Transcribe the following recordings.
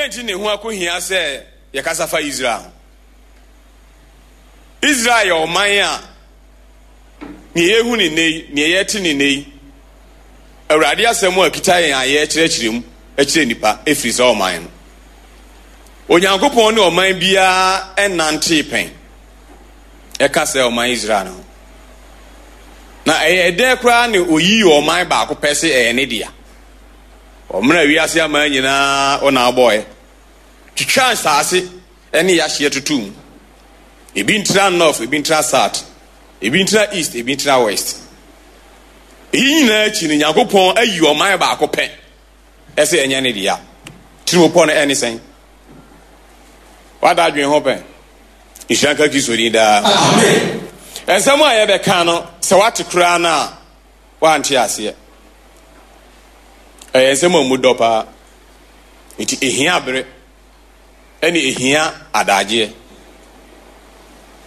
Dɛn nti na ɛho akohia sɛ yɛkasa fa Israel ho? Israel yɛ ɔman a nea yɛhu ne nnɛ yi, nea yɛte ne nnɛ yi, Awurade asɛm a kita yɛn a yɛrekyerɛkyerɛ mu kyerɛ nnipa ɛfiri saa ɔman no. Onyankopɔn ne ɔman biara nnantee pɛn ɛka sɛ ɔman Israel no ho. Na ɛyɛ dɛn koraa ne oyii ɔman baako pɛ se ɛyɛ ne dea? Ɔmena wiase aman nyinaa ɔna abɔɛ. Twitwa nsaase ne yahyeɛ totoo mu. Ebi ntena north, ebi ntena south, ebi ntena east, ebi ntena west. Eyi nyinaa akyi no, Nyankopɔn ayi ɔman baako pɛ ɛsɛ ɛnyɛ ne dea. Tirimopɔ no ɛne sɛn? Wada adwene ho pɛn? Nhyira nka Kristo din daa. Amen. Nsɛm a yɛbɛka no, sɛ wate koraa no a, woante aseɛ. Ɛyɛ nsɛm a mu dɔ paa. Nti ehia bere ɛne ehia adagyeɛ.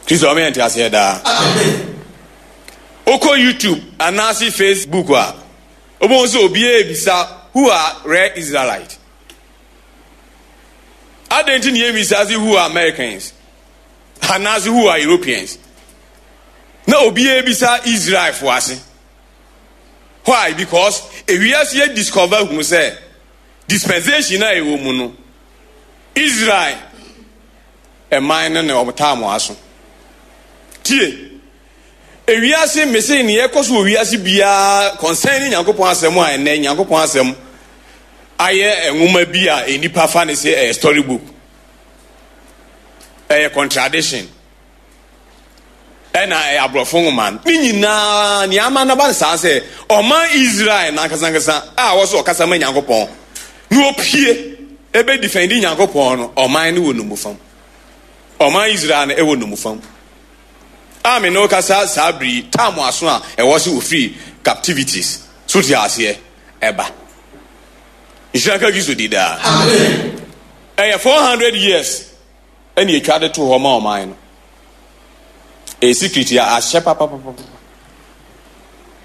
Kristo ɔmo yɛ nte aseɛ daa. Wokɔ YouTube anaase Facebook a, wobɛhu sɛ obiara ebisa who are rare Israelite. Adɛn nti na yɛmmisa se who are Americans anaase who are Europeans? Na obiara bisa Israelfoɔ ase. Why? Because ewiase yɛ discover hunu sɛ dispensation a ɛwɔ mu no, Israel ɛman no na wɔtaa mo aso. Tie, ewiase mese nea ɛkɔ so wɔ wiase biara concerning Nyankopɔn asɛm a ɛnɛ Nyankopɔn asɛm ayɛ nwoma bi a nnipa fa ne sɛ ɛyɛ story book, ɛyɛ contradiction. Ɛna ɛyɛ aborɔfo nwoma no. Ne nyinaa, nea ama no aba no saa sɛ, ɔman Israel no ankasankasa a ɔwɔ sɛ ɔkasa ma Nyankopɔn na opue ebe defendi Nyankopɔn no, ɔman no wɔ nnommufam. Ɔman Israel no ɛwɔ nnommufam. A me ne wo kasa saa bere yi, tam aso a ɛwɔ sɛ ofiri captivities so te aseɛ ɛba. Nhyira nka Kristo di daa. Ɛyɛ 400 years. Ɛna etwa de to hɔ ma ɔman no. Ɛyɛ secret a ahyɛ papapapa.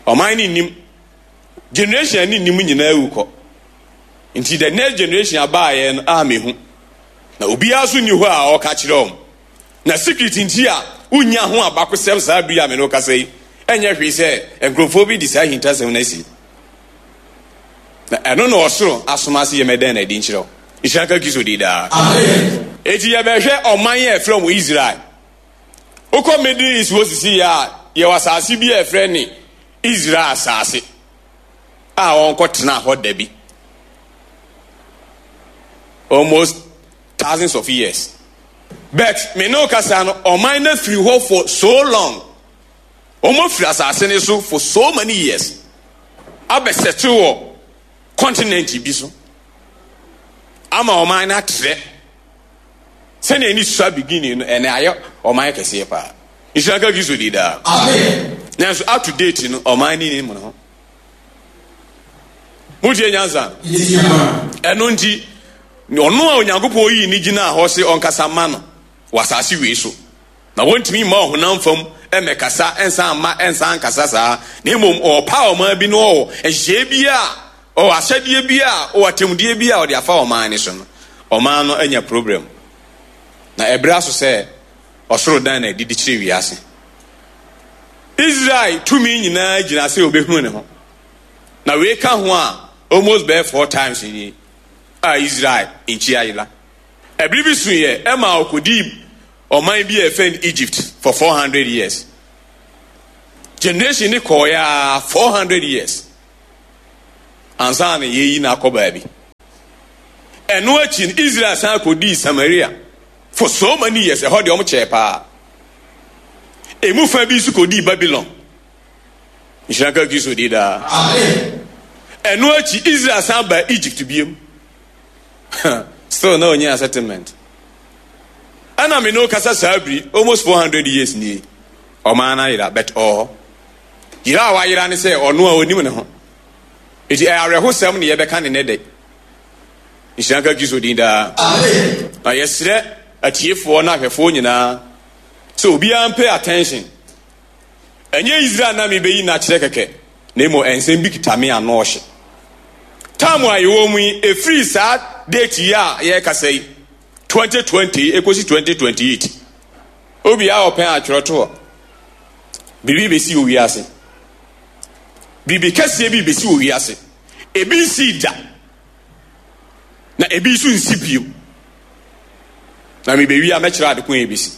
Ɔman no nnim. Generation a ne nnim nyinaa awu kɔ. Nti the next generation abaayɛ no a mehu. Na obiara nso nni hɔ a ɔka kyerɛ wɔn. Na secret nti a wonnya ho abakosɛm saa bere a me ne wo kasa yi, ɛnyɛ hwee sɛ nkurɔfoɔ bi de saa ahintasɛm no asi. Na ɛno na ɔsoro asoma ase yɛmɛdɛn na adi nkyerɛ wo. Nhyira nka Kristo din daa. Enti yɛbɛhwɛ ɔman a ɛfrɛ wɔn Israel. Wokɔ Middle East hɔ sisi yɛ a, yɛwɔ asase bi a ɛfrɛ ne Israel asase a wɔnkɔtena hɔ da bi. Almost thousands of years. But me ne wo kasa no, ɔman no afiri hɔ for so long. Wɔafiri asase no so for so many years abɛsɛte wɔ continent bi so ama ɔman no atrɛ sɛnea ɛne sua beginning no ɛnɛ ayɛ ɔman kɛseɛ paa. Nhyira nka Kristo di daa. Nanso up to date no ɔman no nim ne ho. Motie nyansa? Ɛno nti ɔno a Onyankopɔn yii ne gyinaa hɔ se ɔnkasa ma no wɔ asase wei so. Na wɔntumi mma ɔhonam fam mmɛkasa nsan mma nsan nkasa saa, na mmom ɔrepaw ɔman bi na ɔwɔ nhyehyɛe bi a, ɔwɔ ahyɛdeɛ bi a, ɔwɔ atemmudeɛ bi a ɔde afa ɔman no so no, ɔman no anya problem. Na ɛberɛ aso sɛ ɔsoro dan no adi de kyerɛ wiase. Israel tumi nyinaa gyina sɛ ɔbɛhunu ne ho. Na wei ka ho a, almost bɛyɛ four times nie a Israel nkyi ayera. Ɛbere bi suiɛ ɛma ɔkɔdii ɔman bi a yɛfrɛ no Egypt for 400 years. Generation ne kɔɔeɛ a 400 years ansa na yɛyi no akɔ baabi. Ɛno akyi no Israel san kɔdii Samaria for so many years. Ɛhɔ deɛ wɔn kyɛɛ paa. Emu fa bi nso kɔdii Babylon. Nhyira nka Kristo di daa. Ɛno akyi Israel san baa Egypt biem. Still na ɔnyɛ settlement. Ɛna me ne wo kasa saa biri almost 400 years nie. Ɔman no ayera but ɔwɔ hɔ. Yera a wayera ne sɛ ɔno a ɔnim ne ho. Eti ɛyɛ awerɛhosɛm ne yɛbɛka ne nɛ dɛ. Nhyira nka Kristo din daa. Na yɛsrɛ atiefoɔ ne ahwɛfoɔ nyinaa sɛ obiara mpay attention. Ɛnyɛ Israel na mebeyi no akyerɛ kɛkɛ, na mmom nsɛm bi kita me ano ɔhye. Tam a yɛwɔ mu yi, ɛfiri saa date yi a yɛrekasa yi, 2020 yi ɛkɔsi 2028. Obiara ɔpɛn atwerɛtoɔ. Biribi bɛsi wɔ wiase. Biribi kɛseɛ bi bɛsi wɔ wiase. Ebi nsii da. Na ebi nso nsi bio. Na mebɛwie a mɛkyerɛ ade ko a ɛbɛsi.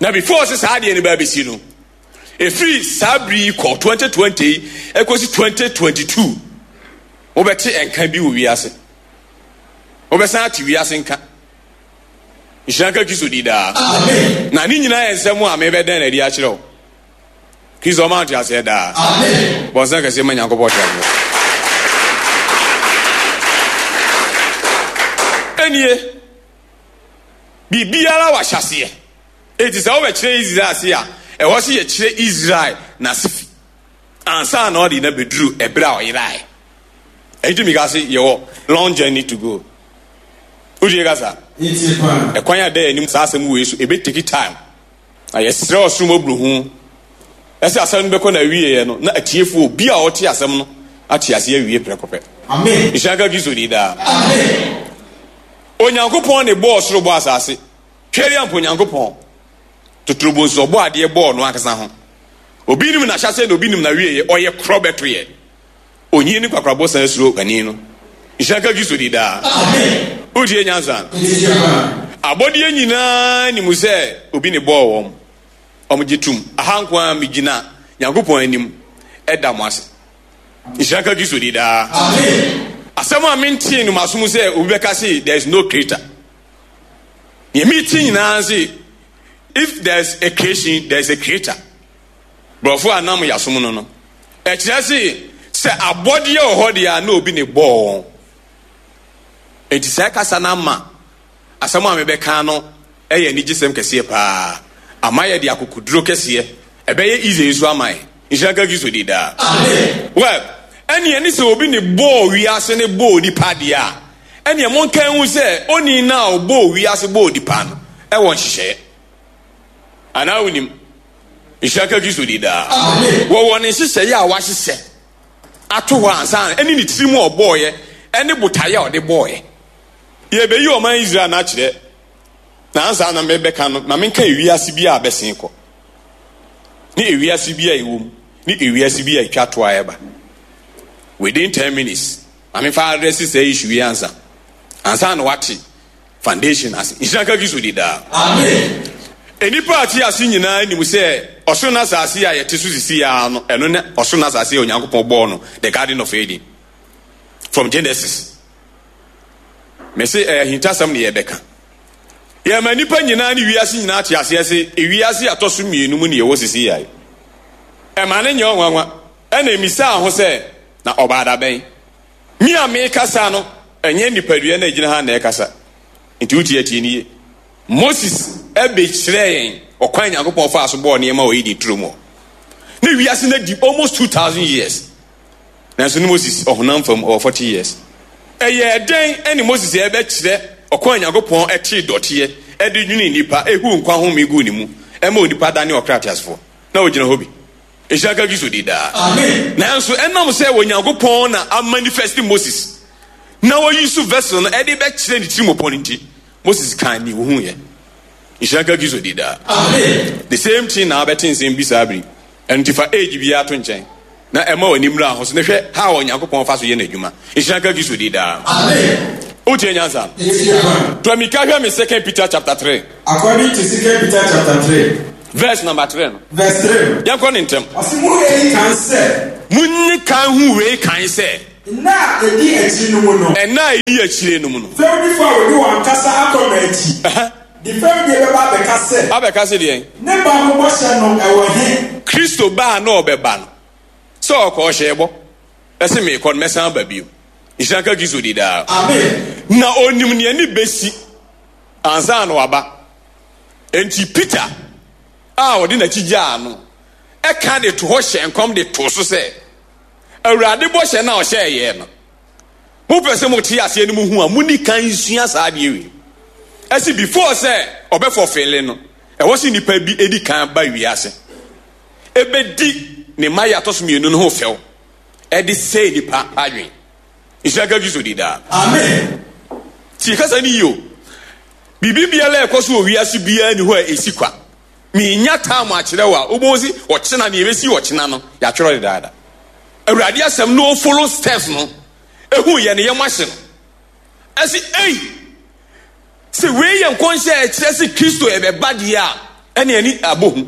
Na before sɛ saa adeɛ no bɛa bɛsi no, ɛfiri saa bere yi kɔ 2020 yi ɛkɔsi 2022, wobɛte nka bi wɔ wiase. Wobɛsan ate wiase nka. Nhyira nka Kristo di daa. Na ne nyinaa yɛ nsɛm a mebɛdɛn na adi akyerɛ wo. Kristo ɔma nteaseɛ daa. Bɔnsɛn kɛseɛ ma Nyankopɔn teaseɛ. Ɛnie, biribiara wɔ ahyɛaseɛ. Enti sɛ wobɛkyerɛ Israel ase a, ɛwɔ sɛ yɛkyerɛ Israel n'ase fi ansa na ɔde na bɛduru ɛberɛ a ɔyeraeɛ. Ɛnti meka se yɛwɔ long journey to go. Wotie kasa? Ɛkwan a ɛda yɛn anim saa asɛm wei so, ɛbɛ take time. Na yɛsrɛ ɔsoro mmɔborohu sɛ asɛm no bɛkɔ n'awieɛ no, na atiefoɔ, obi a ɔte asɛm no ate aseɛ awie prɛko pɛ. Amen. Nhyira nka Kristo din daa. Amen. Onyankopɔn ne bɔɔ soro bɔɔ asase. Twɛdeɛ mpo Onyankopɔn totorobɔ nso ɔbɔɔ adeɛ bɔɔ no ankasa ho. Obi nim n'ahyɛaseɛ na obi nim n'awieɛ. Ɔyɛ korɔ bɛto yɛ. Onyin ne kwakorabɔ san suro panin no. Nhyira nka Kristo din daa. Wotie nyansa no? Abɔdeɛ nyinaa nim sɛ obi ne bɔɔ wɔn. Wɔn gye tom. Aha nko ara megyina Nyankopɔn anim da mo ase. Nhyira nka Kristo din daa. Asɛm a mentee no m'asom sɛ obi bɛka se there is no creator. Nea mete nyinaa se if there is a creation there is a creator. Borɔfo a nam yɛasom no no, ɛkyerɛ se sɛ abɔdeɛ wɔ hɔ deɛ a na obi ne bɔɔ wɔn. Enti saa kasa no ama asɛm a mebɛka no yɛ anigyesɛm kɛseɛ paa. Ama yɛde akokoduro kɛseɛ. Ɛbɛyɛ easy nso ama yɛn. Nhyira nka Kristo din daa. Well, ɛneɛ ne sɛ obi ne bɔɔ wiase ne bɔɔ nipa deɛ a, ɛneɛ monka nhu sɛ onii no a ɔbɔɔ wiase bɔɔ nipa no ɛwɔ nhyehyɛeɛ. Anaa wonim? Nhyira nka Kristo din daa. Wɔwɔ ne nhyehyɛeɛ a wahyehyɛ ato hɔ ansa na ɛne ne tirim a ɔbɔɔeɛ ɛne botaeɛ a ɔde bɔɔeɛ. Yɛbɛyi ɔman Israel no akyerɛ, na ansa na mebɛka no, ma menka ewiase bi a abɛsen kɔ, ne ewiase bi a ɛwɔ mu, ne ewiase bi a ɛtwa to a ɛba. Within 10 minutes, ma memfa address saa issue yi ansa, ansa na wate foundation ase. Nhyira nka Kristo di daa. Amen. Nnipa a te ase nyinaa nim sɛ ɔsoro ne asase a yɛte so sisi ara no, ɛno ne ɔsoro ne asase a Onyankopɔn bɔɔ no, the Garden of Eden, from Genesis. Mese ɛyɛ ahintasɛm ne yɛbɛka. Yɛma nnipa nyinaa ne wiase nyinaa te aseɛ se ewiase atɔ so mmienu mu ne yɛwɔ sisi yɛ. Ɛma ne nyɛ ɔnwanwa. Ɛna emisaa ho sɛ, na ɔbaa da bɛn? Me a merekasa no, ɛnyɛ nipadua no a egyina ha na ɛrekasa. Enti wotie a, tie no yie. Moses bɛkyerɛɛ yɛn ɔkwan a Nyankopɔn faa so bɔɔ nneɛma wɔ Eden turo mu hɔ. Ne wiase no adi almost 2000 years. Nanso ne Moses ɔhonam fam ɔwɔ 40 years. Ɛyɛɛ dɛn ɛne Moses ɛbɛkyerɛ ɔkwan a Nyankopɔn tee dɔteɛ de nwenee nnipa, ehuu nkwa home guu ne mu, ɛma onipa danee ɔkra teasefoɔ? Na ɔgyina hɔ bi. Nhyira nka Kristo din daa. Nanso ɛnam sɛ Onyankopɔn na amanifest Moses na ɔyi so vessel no ɛde bɛkyerɛ ne tirimopɔ no nti, Moses kan ne ohuiɛ. Nhyira nka Kristo din daa. The same thing na abɛte nsɛm bi saa bere. Ɛno nti fa age biara to nkyɛn na ɛma w'ani mmra ho so na hwɛ how Onyankopɔn fa so yɛ n'adwuma. Nhyira nka Kristo din daa. Wotie nyansa no? To amika hwɛ me Second Peter chapter 3. According to Second Peter chapter 3. Verse number 3 no. Verse 3 no. Yɛnkɔ ne ntɛm. Ɔse mo eyi kan sɛ. Munni kan hu wei kan sɛ. Nna a edi akyiri no mu no. Nna a edi akyire no mu no. Fɛwdifo a wɔdi wɔn ankasa akɔnnɔ akyi. De fɛwdie bɛba abɛka sɛ. Abɛka sɛ deɛn? Ne ba ho bɔhyɛ no, ɛwɔ he? Kristo ba a na ɔbɛba no, sɛ ɔkɔ ɔhyɛɛ bɔ sɛ meekɔ no mɛsan aba bio. Nhyira nka Kristo di daa. Amen. Na onim nea ne besi ansa na waba. Enti Peter a ɔde n'akyi gyaa no ɛka de to hɔ hyɛ nkɔm de to so sɛ, Awurade bɔhyɛ no a ɔhyɛɛ yɛn no, mopɛ sɛ mote aseɛ no muhu a, monni kan nsua saa adeɛ wei. Ɛsi before sɛ ɔbɛfɔfele no, ɛwɔ sɛ nnipa bi edi kan ba wiase ebedi ne mma yɛ atɔ so mmienu no ho fɛw ɛde sɛe nipa adwene. Nhyira nka Kristo di daa. Amen. Tie kasa no yie o. Biribi biara a ɛkɔ so wɔ wiase biara nni hɔ a ɛsi kwa. Menya time akyerɛ wo a, wobɛhu se ɔkyena, nea ɛbɛsi ɔkyena no, yɛatwerɛ dedaada. Awurade asɛm no follow steps no, ɛhu yɛ ne yam ahye no. Ɛse, ei! Sɛ wei yɛ nkɔnhyɛ a ɛkyerɛ se Kristo ɛbɛba deɛ a, ɛne ani abɔ hu.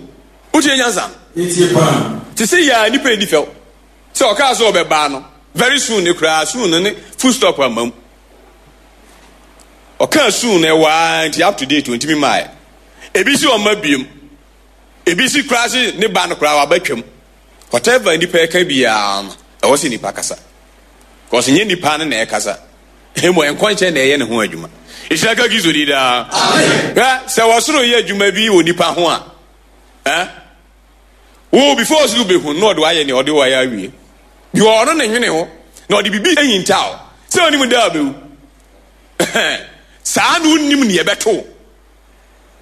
Wotie nyansa no? Yɛtie paa. Te sɛ yɛ a nnipa nni fɛw. Sɛ ɔkaa sɛ ɔbɛba no, very soon ne koraa, soon no ne full stop amma mu. Ɔkaa soon no ɛwɔ ara nti up to date ɔntumi mmaeɛ. Ebi si ɔmma biom. Ebi si koraa se ne ba no koraa waba twam. Whatever nipa ɛka biara no, ɛwɔ sɛ nipa kasa. Because nyɛ nipa no na ɛkasa. Mmom nkɔnhyɛ na ɛyɛ ne ho adwuma. Nhyira nka Kristo din daa. Hwɛ, sɛ wɔsoro yɛ adwuma bi wɔ nipa ho a, eh? Wo before ɔsoro bɛhu na ɔde wayɛ nea ɔde wayɛ awie. Bi wɔ ɔno ne nwene ho na ɔde biribi ahinta wo sɛ onim da a bɛwu. Saa na wonim nea ɛbɛto.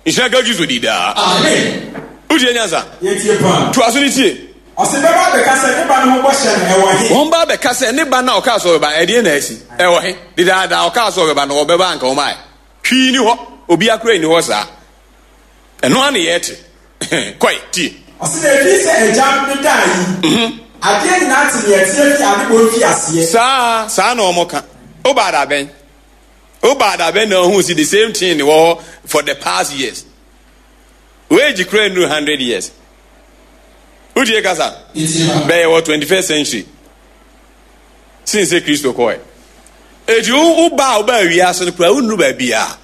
Nhyira nka Kristo di daa. Amen. Wotie nyansa? Yɛtie paa. Toa so ne tie. Ɔse bɛba abɛka sɛ ne ba no ho bɔhyɛ no ɛwɔ he? Wɔn ba abɛka sɛ ne ba no a ɔkaa sɛ ɔbɛba no ɛdeɛn na asi? Ɛwɔ he? Dedaadaa ɔkaa sɛ ɔbɛba no ɔbɛba anka ɔmaɛ. Hwee nni hɔ. Obia koraa nni hɔ saa. Ɛno ara ne yɛte. Kɔe, tie. Ɔse na ɛfiri sɛ Agya no daa yi, adeɛ nyinaa te deɛ ɛteɛ firi adebɔ mfiaseɛ. Saa, saa na wɔka. Wobaa da bɛn? Wobaa da bɛn na wohuu si the same thing wɔ hɔ for the past years? Wo age koraa nnuru 100 years. Wotie kasa? Bɛyɛ wɔ 21st century. Since sɛ Kristo kɔɛ. Eti wo ba a wobaa wiase no koraa wonnuru baabiara.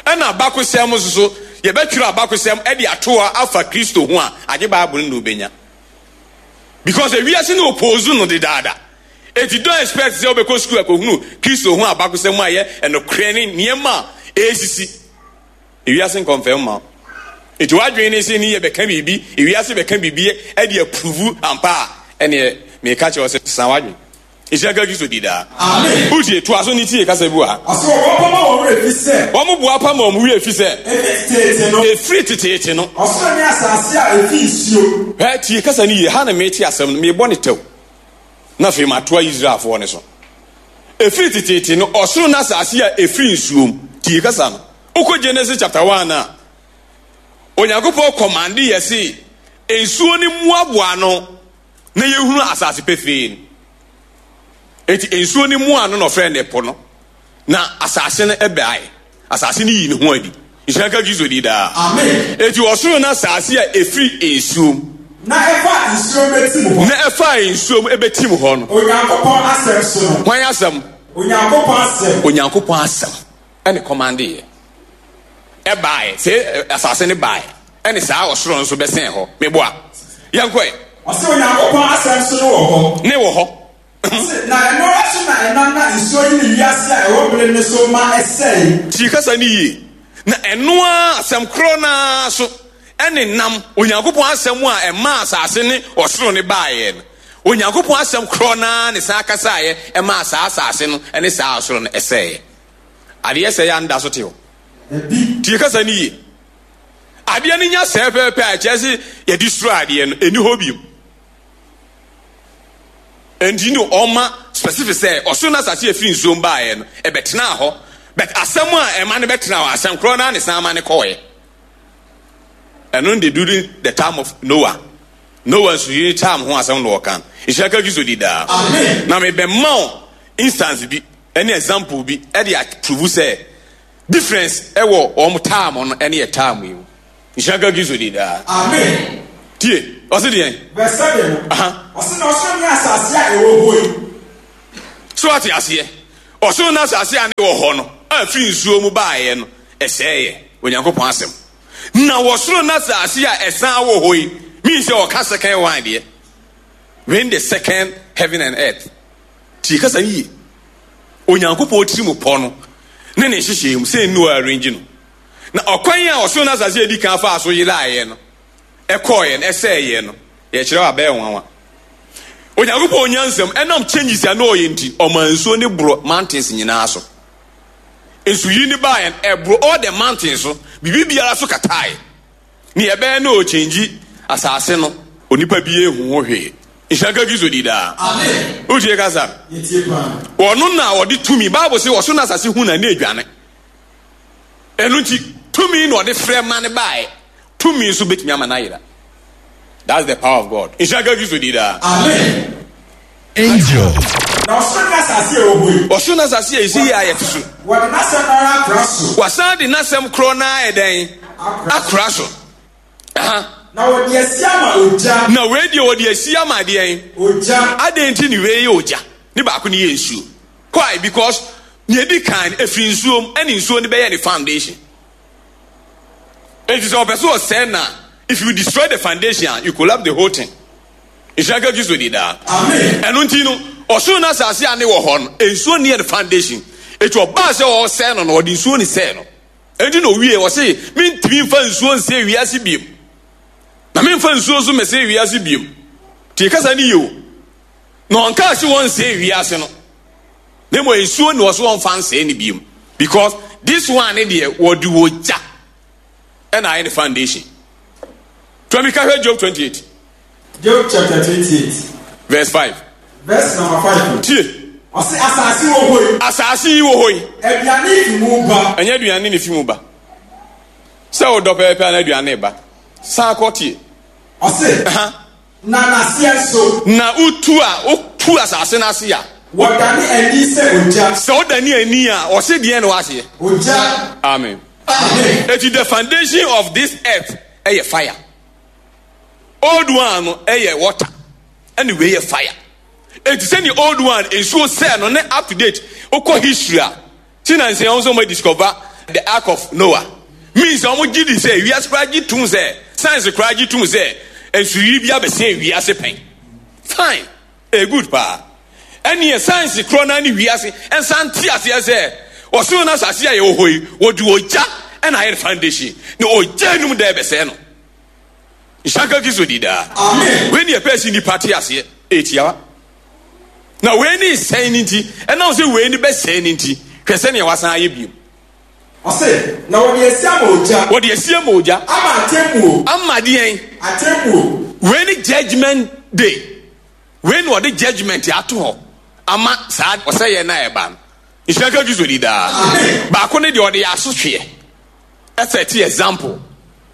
Ɛna abakosɛm nso so, yɛbɛtwerɛ abakosɛm de ato hɔ afa Kristo ho a, agye Bible no na wobɛnya. Because ewiase no oppose no dedaada. Enti don't expect sɛ wobɛkɔ sukuu akɔhunu Kristo ho abakosɛm a ɛyɛ ɛnokorɛ ne nneɛma a ɛresisi. Ewiase nkɔmfɛm mma wo. Enti w'adwene ne sɛ ne yɛ bɛka biribi, ewiase bɛka biribi de apuruvu ampa a, ɛneɛ meka kyerɛ wo sɛ sesa w'adwene. Nhyira nka Kristo di daa. Amen. Wotie, toa so ne tie kasa bi wɔ ha. Ɔsɛ wɔboapa ma wɔn werɛ fi sɛ. Wɔn boapa ma wɔn werɛ fi sɛ. Efi teteete no. Efiri teteete no. Ɔsoro ne asase a efi nsuo. Hwɛ, tie kasa no yie. Ha na mete asɛm no, mebɔ ne tɛw. Na afei matoa Israelfoɔ no so. Efiri teteete no, ɔsoro ne asase a efiri nsuo mu. Tie kasa no. Wokɔ Genesis chapter 1 a, Onyankopɔn kɔmande yɛ se nsuo no mmoaboa ano na yɛhunu asase pefee no. Enti nsuo no mu ano na ɔfrɛ no ɛpo no, na asase no ɛbɛae. Asase no yii ne ho adi. Nhyira nka Kristo di daa. Amen. Enti ɔsoro no asase a ɛfiri nsuo mu. Na ɛfaa nsuo mu bɛtim hɔ. Na ɛfaa nsuo mu ɛbɛtim hɔ no. Onyankopɔn asɛm so no. Hwan asɛm? Onyankopɔn asɛm. Onyankopɔn asɛm ɛne kɔmandeeɛ. Ɛbaeɛ, sɛ asase no baeɛ, ɛne saa ɔsoro no nso bɛsɛn hɔ. Meboa. Yɛnkɔ ɛ. Ɔse Onyankopɔn asɛm so no wɔ hɔ. Ne wɔ hɔ. Ɔse, na ɛno ara so na ɛnam na nsuo yiri wiase a ɛwɔ bere no so ma ɛsɛe. Tie kasa no yie. Na ɛno ara, asɛm korɔ no ara so, ɛne nam Onyankopɔn asɛm a ɛmaa asase ne ɔsoro no baeɛ no. Onyankopɔn asɛm korɔ no ara ne san kasaeɛ ɛmaa saa asase no ne saa ɔsoro no ɛsɛeɛ. Adeɛ sɛe a nda so te hɔ. Tie kasa no yie. Adeɛ no nya sɛe pɛpɛpɛ a ɛkyerɛ se yɛde suro adeɛ no, ɛni hɔ bio. Enti no ɔma specific sɛ ɔsoro no asase a ɛfiri nsuom baeɛ no, ɛbɛtenaa hɔ. But asɛm a ɛma no bɛtenaa hɔ, asɛm korɔ no ara ne san ma no kɔɔeɛ. Ɛno de during the time of Noah. Noah nsuyiri time ho asɛm na ɔka. Nhyira ka Kristo di daa. Na mebɛma wo instance bi ɛne example bi ɛde aprovu sɛ difference ɛwɔ wɔn time no ɛne yɛ time yi mu. Nhyira nka Kristo din daa. Amen. Tie, ɔse deɛn? Verse 7 no. Aha. Ɔse na ɔsoro ne asase a ɛwɔ hɔ yi. So ate aseɛ? Ɔsoro ne asase a ne wɔ hɔ no, a firi nsuo mu baeɛ no, ɛsɛeɛ. Onyankopɔn asɛm. Na wɔ soro ne asase a ɛsan wɔ hɔ yi, mean sɛ ɔka second one deɛ. When the second heaven and earth. Tie kasa yie. Onyankopɔn tiri mu pɔ no ne ne nhyehyɛɛ mu sɛ nnu arrange no. Na ɔkwan a ɔsoro ne asase a edi kan faa so yeraeɛ no, ɛkɔeɛ no, ɛsɛeɛ no, yɛkyerɛ wo a, ɛbɛyɛ nwanwa. Onyankopɔn nyansam, ɛnam changes a na ɔyɛ nti, ɔmaa nsuo no boro mountains nyinaa so. Nsuyiri no baeɛ no, ɛboro all the mountains so, biribi biara so kataeɛ. Nea ɛbɛyɛ na ɔrekyɛngyi asase no, onipa bi ehu ho hwee. Nhyira nka Kristo di daa. Amen. Wotie kasa? Yɛtie paa. Ɔno na ɔde tumi. Bible se ɔsoro na asase hu na na edwane. Ɛno nti, tumi na ɔde frɛ ma no baeɛ. Tumi nso bɛtumi ama no ayera. That's the power of God. Nhyira nka Kristo din daa. Amen. Angel. Na ɔsoro ne asase a ɛwɔ hɔ yi. Ɔsoro ne asase a ɛsi yi a yɛte so. Wɔde n'asɛm no ara akora so. Wɔasan de n'asɛm korɔ no ara ayɛ dɛn? Akora so. Aha. Na wɔde asi ama ogya. Na wei deɛ wɔde asi ama deɛn? Ogya. Adɛn nti ne wei yɛ ogya? Ne baako no yɛ nsuo. Why? Because nea edi kan no, efiri nsuo mu, ɛna nsuo no bɛyɛ ne foundation. Enti sɛ ɔpɛ sɛ ɔsɛe no a, if you destroy the foundation a, you collapse the whole thing. Nhyira nka Kristo di daa. Amen. Ɛno nti no, ɔsoro no asase a ne wɔ hɔ no, nsuo ne yɛ ne foundation. Eti ɔbaa sɛ ɔresɛe no no, ɔde nsuo ne sɛe no. Ɛnti na owie, ɔse, mentumi mfa nsuo nsɛe wiase biem. Na memfa nsuo nso mɛsɛe wiase biem. Tie kasa no yie o. Na ɔnkaa se wɔnsɛe wiase no, na mmom nsuo na ɔse wɔmfa nsɛe no biom. Because this one ne deɛ wɔde ogya ɛna ayɛ ne foundation. Tuami ka hwɛ Job 28. Job chapter 28. Verse 5. Verse number 5. Tie. Ɔse asase wɔ hɔ yi. Asase yi wɔ hɔ yi. Aduane fi mu ba. Ɛnyɛ aduane na efi mu ba. Sɛ wodɔ pɛpɛpɛ na aduane ba. San kɔ tie. Ɔse. Uh-huh. Na n'aseɛ nso. Na wotu a, wotu asase no ase a. Wɔdane ani sɛ ogya. Sɛ wodane ani a, ɔse deɛn na w'aseɛ? Ogya. Amen. Amen. Eti the foundation of this earth ɛyɛ fire. Old one no ɛyɛ water, ɛna wei yɛ fire. Eti sɛdeɛ old one nsuo sɛɛ no ne up to date, wokɔ history a, Ti na nsia wɔn nso wɔn discover the ark of Noah means wɔn gye di sɛ wiase koraa gye tum sɛ science koraa gye tum sɛ nsuyiri bi abɛsɛn wiase pɛn. Fine, ɛyɛ good paa. Ɛneɛ science korɔ naa ne wiase nsa nte aseɛ sɛ ɔsoro no asase a yɛwɔ hɔ yi wɔde ogya ɛna ayɛ foundation na ogya enum da ɛbɛsɛɛ no. Nhyira nka Kristo di daa. Amen. Wei ne yɛpɛ sɛ nnipa te aseɛ. Ɛyɛ tiawa. Na wei ne sɛn no nti, ɛnam sɛ wei ne bɛsɛe no nti, hwɛ sɛnea wasan ayɛ bio. Ɔse, na wɔde asi ama ogya. Wɔde asi ama ogya. Ama atemmuo. Ama deɛn? Atemmuo. Wei ne judgment day. Wei na wɔde judgment ato hɔ ama saa ɔsɛeɛ no a ɛba no. Nhyira nka Kristo di daa. Amen. Baako ne deɛ ɔde yɛ asotweɛ. Ɛsɛ example.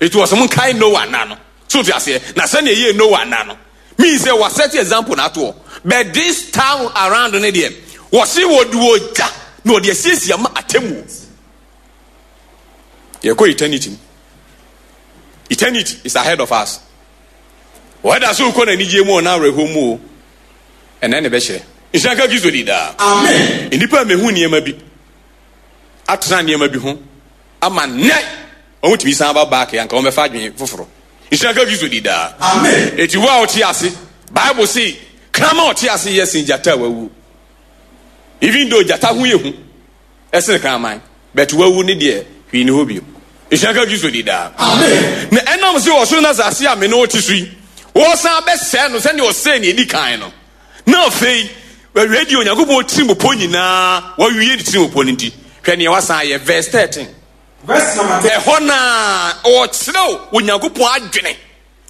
Eti wɔ sɛ mo nkae Noah nna no. So te aseɛ? Na sɛnea ɛyɛɛ Noah nna no means sɛ wɔasɛte example no ato hɔ. But this time around no deɛ, wɔse wɔde ogya na wɔde asiesie ama atemmuo. Yɛkɔ eternity mu. Eternity is ahead of us. Wɔda so kɔ n'anigyeɛ mu ɔna awerɛhoɔ mu o. Ɛnɛ ne bɛhyerɛ. Nhyira nka Kristo di daa. Amen. Nnipa mehu nneɛma bi, atena nneɛma bi ho ama nnɛ Wɔn tumi san ba back anka wɔn bɛfa adwene foforo. Nhyira nka Kristo di daa. Amen. Eti wo a ɔte ase, Bible se kraman a ɔte ase yɛ sen gyata a wawu. Even though gyata ho yɛ hu ɛsen kraman, but wawu ne deɛ hwee ni hɔ bio. Nhyira nka Kristo di daa. Amen. Na ɛnam sɛ ɔsoro na asase a me ne wo te so yi, wɔsan bɛsɛe no sɛnea ɔsɛe nea edi kan no. Na afei, wawie deɛ Onyankopɔn tirimupɔ nyinaa, wawie ne tirimupɔ no nti, hwɛ nea wasan ayɛ, verse 13. Verse number 10. Ɛhɔ na ɔkyerɛw Onyankopɔn adwene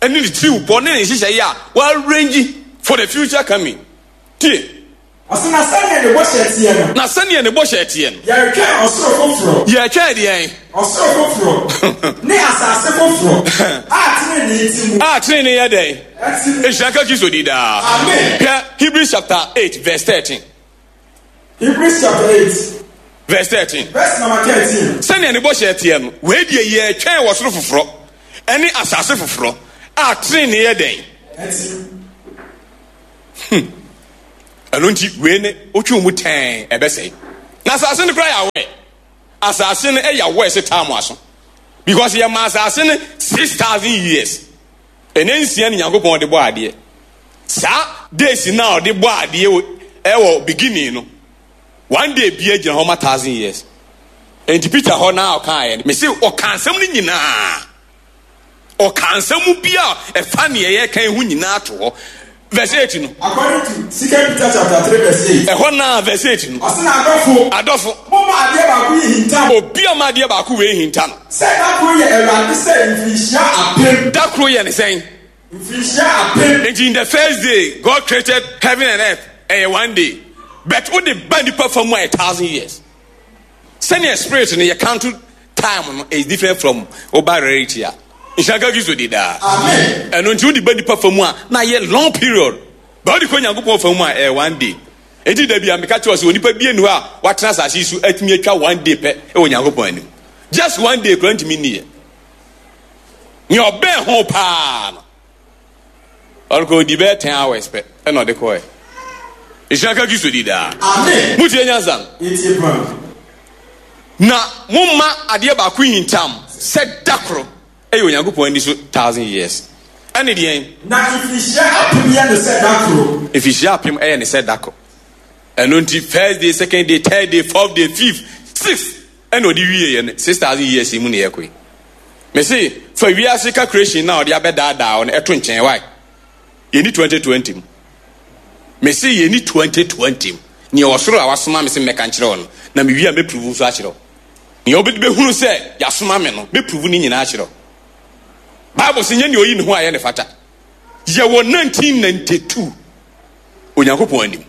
ne ne tirimupɔ ne ne nhyehyɛe a wɔarrange for the future coming. Tie. Ɔse, na sɛdeɛ ne bɔhyɛ teɛ no. Na sɛdeɛ ne bɔhyɛ teɛ no. Yɛretwɛn ɔsoro foforɔ. Yɛretwɛn deɛn? Ɔsoro foforɔ ne asase foforɔ a tenenee te mu. A tenenee yɛ dɛn? Ɛte mu. Nhyira nka Kristo din daa. Amen. Hwɛ Hebrews chapter 8 verse 13. Hebrews chapter 8. Verse 13. Verse number 13. Sɛnea ne bɔhyɛ teɛ no, wei deɛ yɛretwɛn wɔ soro foforɔ ne asase foforɔ a tenenee yɛ dɛn? Ɛte. Ɛno nti wei ne wotwe mu tɛn ɛbɛsɛe. Na asase no koraa yɛ awɛ. Asase no yɛ awɛ sɛ taa mo aso. Because yɛ ma asase no 6,000 years. Ɛnɛ nsia ne Nyankopɔn de bɔ adeɛ. Saa days no a ɔde bɔ adeɛ ɛwɔ beginning no, one day bia gyina hɔ ma 1,000 years. Enti Peter hɔ na ɔkaeɛ no, mese ɔka nsɛm no nyinaa. Ɔka nsɛm bi a ɛfa nea yɛreka yi ho nyinaa to hɔ. Verse 8 no. According to Second Peter chapter 3 verse 8. Ɛhɔ naa verse 8 no. Ɔse na adɔfo. Adɔfo. Momma adeɛ baako yi hinta mo. Obi a ɔma adeɛ baako wei hinta no. Sɛ da koro yɛ Awurade sɛ mfirinhyia apem. Da koro yɛ ne sɛn? Mfirinhyia apem. Nti in the first day God created heaven and earth, ɛyɛ one day. But wode ba nipa fa mu a, 1,000 years. Sɛnea spirit no yɛ count. time no is different from woba rarity a. Nhyira nka Kristo di daa. Amen. Ɛno nti wode ba nipa fa mu a na ayɛ long period. Ba wode kɔ Nyankopɔn fa mu a ɛyɛ one day. Enti da bi a meka kyerɛ wo sɛ onipa bi nni hɔ a watena asase yi so atumi atwa one day pɛ wɔ Nyankopɔn anim. Just one day koraa ntumi nni yɛ. Nea ɔbɛn ho paa no, ɔrekɔ odi bɛyɛ 10 hours pɛ ɛna ɔde kɔɛ. Nhyira nka Kristo di daa. Amen. Mutie nyansa no. Yɛtie paa. Na momma adeɛ baako nhintam sɛ da koro ɛyɛ Onyankopɔn ani so thousand years. Ɛne deɛn? Na mfirihyia apem yɛ no sɛ da koro. Mfirihyia apem ɛyɛ ne sɛ da koro. Ɛno nti first day, second day, third day, fourth day, fifth, sixth ɛna ɔde wie yɛ no 6,000 years yi mu na yɛkɔ yi. Mese fa wiase calculation na ɔde abɛdaadaa wo no ɛto nkyɛn wae. Yɛni 2020 mu. Mese yɛni 2020 mu. Nea ɔsoro a wasoma me sɛ mmɛka nkyerɛ wo no, na mewie a mɛpuruvu nso akyerɛ wo. Nea wobɛde bɛhunu sɛ yɛasoma me no, mɛpuruvu ne nyinaa akyerɛ wo. Bible sɛ nyɛ nea ɔyi ne ho ayɛ ne fata. Yɛwɔ 1992 Onyankopɔn anim.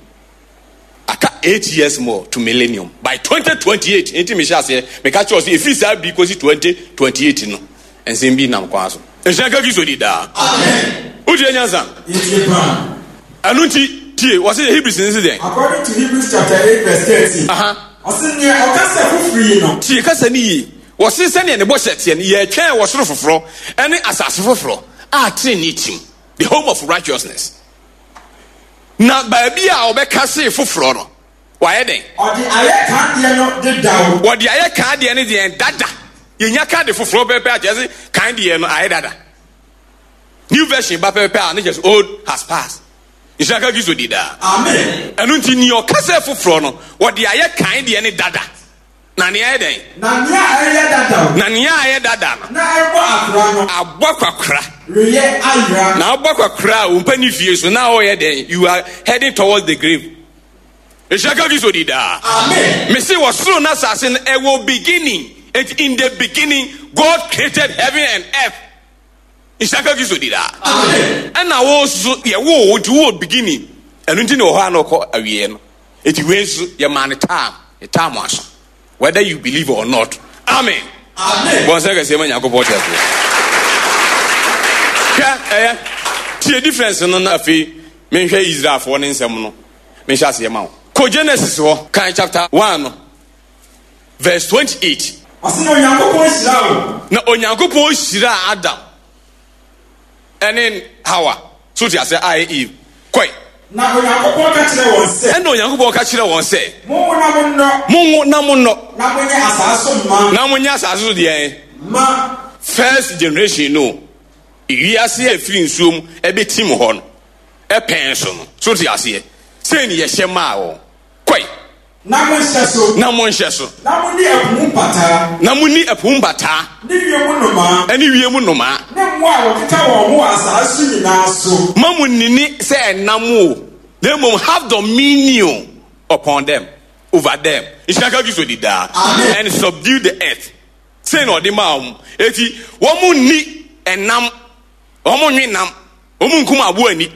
Aka 8 years more to millennium. By 2028, enti mehyɛ aseɛ, meka kyerɛ wo sɛ ɛfiri saa bere kɔsi 2028 no, nsɛm bi nam kwan so. Nhyira nka Kristo di daa. Amen. Wotie nyansa? Yɛtie paa. Ɛno nti, tie, wɔse Hebrews no se dɛn? According to Hebrews chapter 8 verse 13. Aha. Ɔse nea ɔkasa foforo yi no. Tie kasa no yie. Wɔse sɛdeɛ ne bɔhyɛ teɛ no, yɛretwɛn wɔ soro foforɔ ne asase foforɔ a trenee tim, the home of righteousness. Na baabi a ɔbɛka see foforɔ no, wayɛ dɛn? Ɔde ayɛ kan deɛ no dedaw. Wɔde ayɛ kan deɛ no deɛn? Dada. Yɛnya ka de foforɔ pɛpɛ a, kyerɛ sɛ kan deɛ no ayɛ dada. New version ba pɛpɛ a, ne kyerɛ sɛ old has passed. Nhyira nka Kristo di daa. Amen. Ɛno nti, nea ɔka sɛ foforɔ no, wɔde ayɛ kan deɛ no dada. Na nea ayɛ dɛn? Na nea ɛreyɛ dada o. Na nea ayɛ dada no. Na ɛrebɔ akora no. Abɔ akwakoraa. Reyɛ ayera. Na abɔ akwakoraa a, wo mpa fie so, na ɔreyɛ dɛn? You are heading towards the grave. Nhyira nka Kristo di daa. Amen. Mese wɔ soro na asase no ɛwɔ beginning. Enti in the beginning God created heaven and earth. Nhyira nka Kristo di daa. Amen. Ɛna wo nso yɛwoo wo nti wowɔ beginning. Ɛno nti na wɔ hɔ a na ɔkɔ awieɛ no. Enti wei nso yɛmaa no time, ne time aso. Whether you believe or not. Amen. Amen. Bɔ nsɛ kɛseɛ ma Nyankopɔn te aseɛ. Hwɛ ɛyɛ tie difference no na afei menhwɛ Israelfoɔ ne nsɛm no menhyɛ aseɛ ma wo. Kɔ Genesis hɔ kan chapter 1 no verse 28. Ɔse na Onyankopɔn hyiraa wɔn. Na Onyankopɔn hyiraa Adam ɛne Hawa. So te aseɛ a ɛyɛ Eve. Kɔe. Na Onyankopɔn ka kyerɛɛ wɔn sɛ. Ɛnna Onyankopɔn ka kyerɛɛ wɔn sɛ. Monwo na monnɔ. Monwo na monnɔ. Na monyɛ asaase so ma. Na monyɛ asaase so deɛn? Ma. First generation no, wiase a ɛfiri nsuo mu ɛbɛtim hɔ no, ɛpɛn so no. So te aseɛ? Sei ne yɛhyɛ maa wɔn. Kɔe. Na monhyɛ so. Na monhyɛ so. Na monni ɛpo mu mpataa. Na monni ɛpo mu mpataa. Ne wiem nnomaa. Ɛne wiem nnomaa. Ne mmoa a wɔkeka wɔn ho wɔ asaase so nyinaa so. Mma munnini sɛ ɛnam o, na mmom have dominion upon them, over them. Nhyira nka Kristo di daa. Amen. And subdue the earth. Sei na ɔde maa wɔn. Eti wɔn nni ɛnam, wɔn nwe nam, wɔn nkum aboa ani.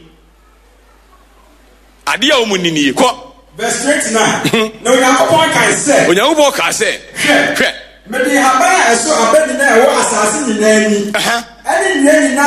Adeɛ a wɔn nni nie. Kɔ. Verse 29. Na Onyankopɔn kae sɛ. Onyankopɔn kaa sɛ. Hwɛ. Hwɛ. Mede nhaban a ɛso aba nyinaa a ɛwɔ asase nyinaa ani. Ɛne nnua nyinaa.